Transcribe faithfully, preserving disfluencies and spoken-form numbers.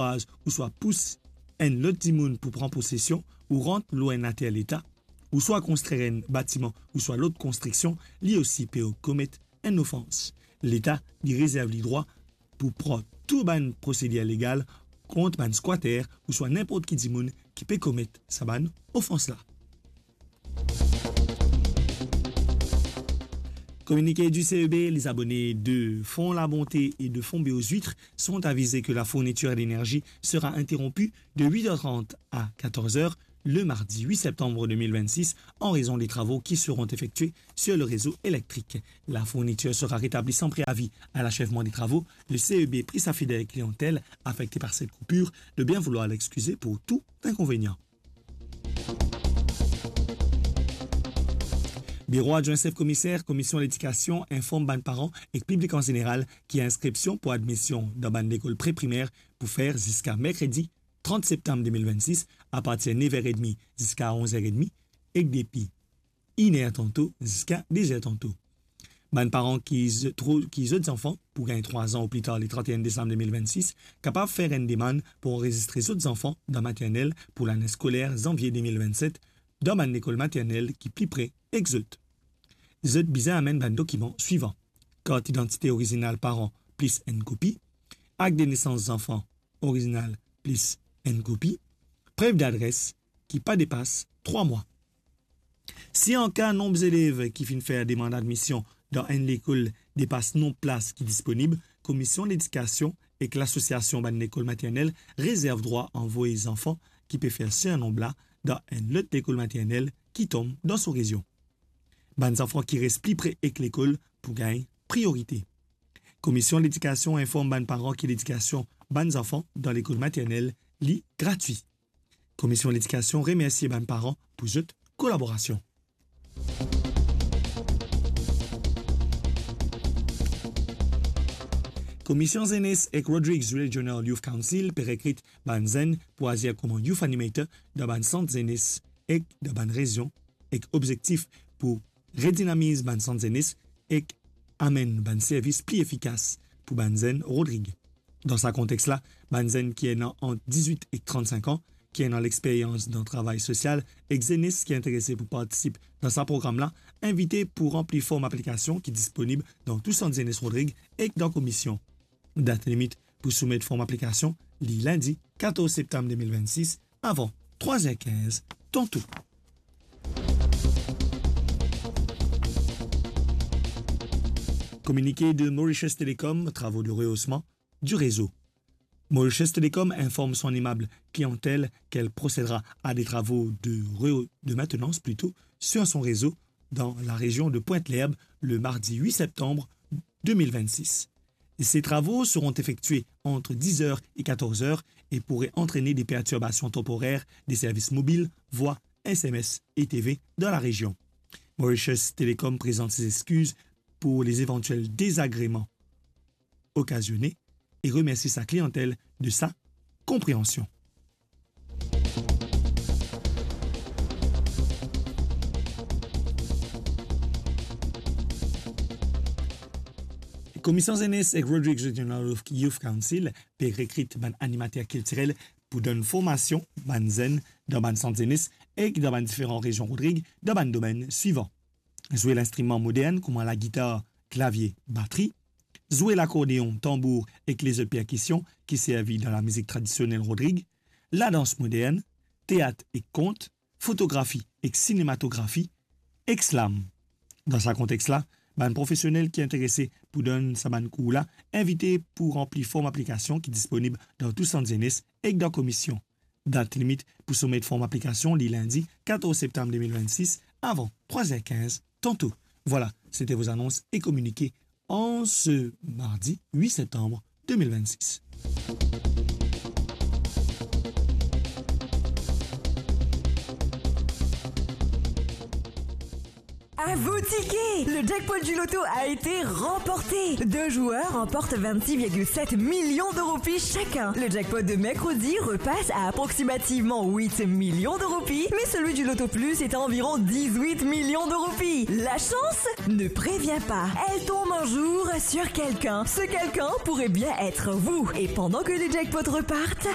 ankouraze ouswa pous enn lot dimoun pou pran posesion ou rant lor enn later Leta, ouswa konstrir enn batiman ouswa lot konstriksion, li osi pe komet enn ofans. Leta, li rezerv li drwa pou pran tou bann prosedir legal kont bann skwater ouswa ninport ki dimoun ki pe komet sa bann ofans la. Communiqué du C E B, les abonnés de Fonds La Bonté et de Fonds Béaux Huîtres sont avisés que la fourniture d'énergie sera interrompue de huit heures trente à quatorze heures le mardi huit septembre deux mille vingt-six en raison des travaux qui seront effectués sur le réseau électrique. La fourniture sera rétablie sans préavis. À l'achèvement des travaux, le C E B prie sa fidèle clientèle affectée par cette coupure de bien vouloir l'excuser pour tout inconvénient. Biro adwin sef komiser Komisyon Ledikasion inform bann paran ek piblik an zeneral ki inskripsion pou admision dan bann lekol pre-primer pou fer ziska merkredi trant septam de mil vennsis, apartir nev er edmi ziska onz er edmi, ek depi inn er tanto ziska de zer tanto. Bann paran ki z-, tro-, ki zot zanfan pou gagn trwa an ou pli tar le trant e enn desam de mil vennsis, kapav fer enn demann pou anrezistre zot zanfan dan maternel pou lane skoler zanvie de mil vennset dan bann lekol maternel ki pli pre ek zot. Zot bizin amenn bann dokiman swivan: kart idantite orizinal paran plis enn kopi, akt de nesans zanfan orizinal plis enn kopi, prev dadres ki pa depas trwa mwa. Si an ka nonb zelev ki finn fer demann admision dan enn lekol depas nonb plas ki disponib, Komisyon Ledikasion ek Lasosiasion bann lekol maternel rezerv drwa anvoy zanfan ki pe fer sirnonb la dan enn lot lekol maternel ki tom dan so rezion. Bann zanfan ki res pli pre ek lekol pou gagn priorite. Komisyon Ledikasion inform bann paran ki ledikasion bann zanfan dan lekol maternel li gratwi. Komisyon Ledikasion remersie bann paran pou zot kolaborasion. Komisyon Zenes ek Rodrigues Regional Youth Council pe rekrit bann zenn pou azir kouma youth animator dan bann sant zenes ek dan bann rezion, ek obzektif pou redinamiz bann sant zenes ek amenn bann servis pli efikas pou bann zenn Rodrig. Dan sa kontex la, bann zenn ki ena ant dizwit ek trannsink an, ki ena lexperyans dan travay sosial, ek zenes ki interese pou partisip dan sa program la, invite pou ranpli form aplikasion ki disponib dan tou sant zenes Rodrig ek dan komisyon. Dat limit pou soumet form aplikasion li lindi katorz septam de mil vennsis avan trwa zer kinz tanto. Communiqué de Mauritius Telecom, travaux de rehaussement du réseau. Mauritius Telecom informe son aimable clientèle qu'elle procédera à des travaux de rehaut-, de maintenance plutôt, sur son réseau dans la région de Pointe-l'Herbe le mardi huit septembre deux mille vingt-six. Ces travaux seront effectués entre dix heures et quatorze heures et pourraient entraîner des perturbations temporaires des services mobiles, voix, S M S et T V dans la région. Mauritius Telecom présente ses excuses pour les éventuels désagréments occasionnés et remercie sa clientèle de sa compréhension. Komisyon Zenes ek Rodrigues Regional Youth Council pe rekrit bann animater kiltirel pou donn formasion bann zenn dan bann sant zenes ek dan bann diferan rezion Rodrig dan bann domenn swivan: zwe linstriman modern kouma lagitar, klavie, batri, zwe lakordeon, tanbour ek lezot perkision ki servi dan lamizik tradisionel Rodrig, ladans modern, teat ek kont, fotografi ek sinematografi, ek slam. Dan sa kontex la, bann profesionel ki interese pou donn sa bann kour la invite pou ranpli form aplikasion ki disponib dan tou sant zenes ek dan komisyon. Dat limit pou soumet form aplikasion li lindi katorz septam de mil vennsis avan trwa zer kinz tanto. Voilà, c'était vos annonces et communiqués en ce mardi huit septembre deux mille vingt-six. À vos tickets, le jackpot du loto a été remporté. Deux joueurs remportent vingt-six virgule sept millions de roupies chacun. Le jackpot de mercredi repasse à approximativement huit millions de roupies, mais celui du Loto Plus est à environ dix-huit millions de roupies. La chance ne prévient pas. Elle tombe un jour sur quelqu'un. Ce quelqu'un pourrait bien être vous. Et pendant que les jackpots repartent,